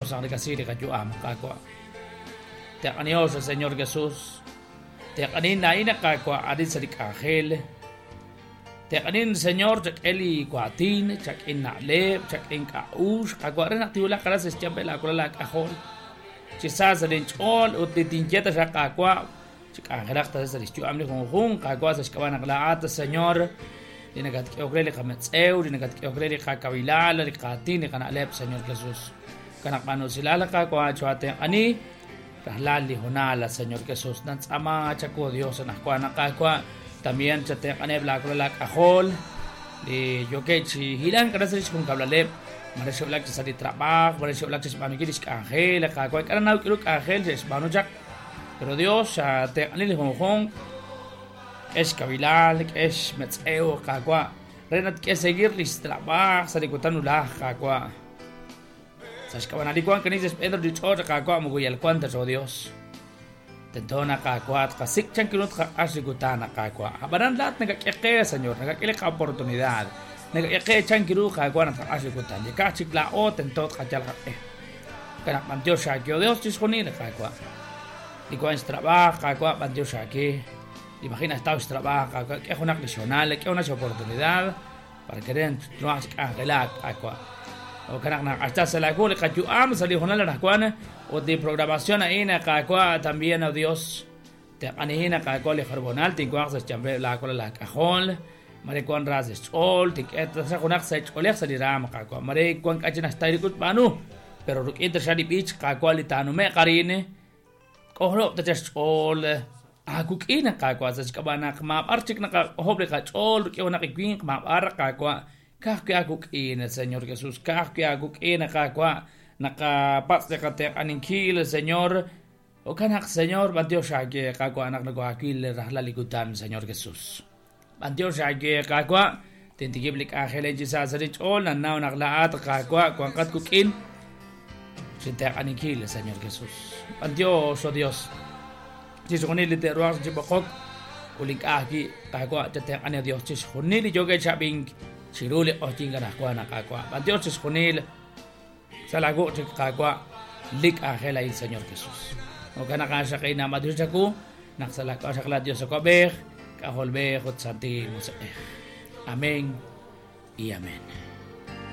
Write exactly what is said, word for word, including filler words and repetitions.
Dios naq nakasi li qayu'am Qaawa'. Teq'aniho Señor Jesús. Teq'anin na'ina Qaawa' arin sa li k'anjel. Teq'anin Señor chak'e li waatin, chak'in na'leb', chak'in k'a'ux, Qaawa' re naq tiwulaq aran sa xyanb'el laakulal laak'ajol. Chi sa sa linch'ool ut li tinye ta xa Qaawa' chi k'anjelaq ta sa li xyu'am li junjunq Qaawa' sa xk'ab'a' naq laa'at Señor li nakatk'ehok re li qametz'ew, li nakatk'ehok re li qakawilal, li qaatin, li qana'leb', Señor Jesús. Kanaq b'anusilal Qaawa' choatenq'ani rajlal li honal, Señor Jesús. Nantz'ama chaku Dios anajwa naq Qaawa' también chatenq'aneb' laakulal laak'ajol li yoke chi hilan k'ara sa li xjunkab'laleb' mare xe'wulak chi sa li trab'aj, mare xe'wulak chi xb'aanunkil li xk'anjel, Qaawa' k'ara naw k'iru k'anjel xe'xb'aanu chaq. Pero Dios xatenq'ani li junjunq k'ex kabilal, k'ex metz'ew Qaawa' re naq k'e seguir li xtrab'aj sa li kutan ulaj Qaawa'. Sa xk'ab'anali wan kanisa xb'een li ch'och' Qaawa' moko yal wan ta xo Dios. Tento na Qaawa' tqasik' chan kiru tqaq'ax li kutan Qaawa'. Ab'anan laat nakak'e qe, Señor, nakak'e li qa-oportunidad. Nakak'e qe chan kiru Qaawa' naq tqaq'ax li kutan. Yekaj chik laa'o tento tqayal qaq'e. Kanaq b'antiox xaakeo Dios chixjunil Qaawa'. Li wan xtrab'aj Qaawa' b'antiox xaake. Imagina esta trabajo, que es una clisional, que es una oportunidad para que den nuevas angelak aqua. O kanaq hasta se la gole kayuam sali honal na o de programación ahí na kakwa también a Dios te anihina kakwa le jarbonal tinkuaq se chambe la kola la cajón mare kwan ras chol tik et sa junak se cholej sali ram kakwa mare kwan kachina stairikut banu pero ruk'in shali bich kakwa li tanume qarine kohlo ta chol akuk'ina Qaawa' sa xk'ab'a' naq maab'ar chik naqajob' li qach'ool rik'in naq iwinq maab'ar Qaawa' ka'ajwi' akuk'ina Señor Jesús, ka'ajwi' akuk'ina Qaawa' naqapatz' li qatenq'aninkil Señor okanaq Señor b'antiox aake Qaawa' naq nako'akil rajlal li kutan Señor Jesús. B'antiox aake Qaawa' tintikib' li k'anjel chi sa sa li ch'ool nannaw naq la'at Qaawa' wanqat kuk'in chintenq'aninkil Señor Jesús. B'antiox oh Dios. Chixjunil li te'ruhaq chi b'oqok ulink'ajki Qaawa' chatenq'ani Dios chixjunil li yoke chab'ink chiru li q'ojyin kanajwa naq Qaawa' b'antiox chixjunil sa laawu' chik Qaawa' li k'anjel a'in Señor Jesús. Okanaq axaqina b'antiox chaku naq sa laak'ox xaqla Dios ak'ab'ej k'ajolb'ej ut Santil Musiq'ej. Amén y amén.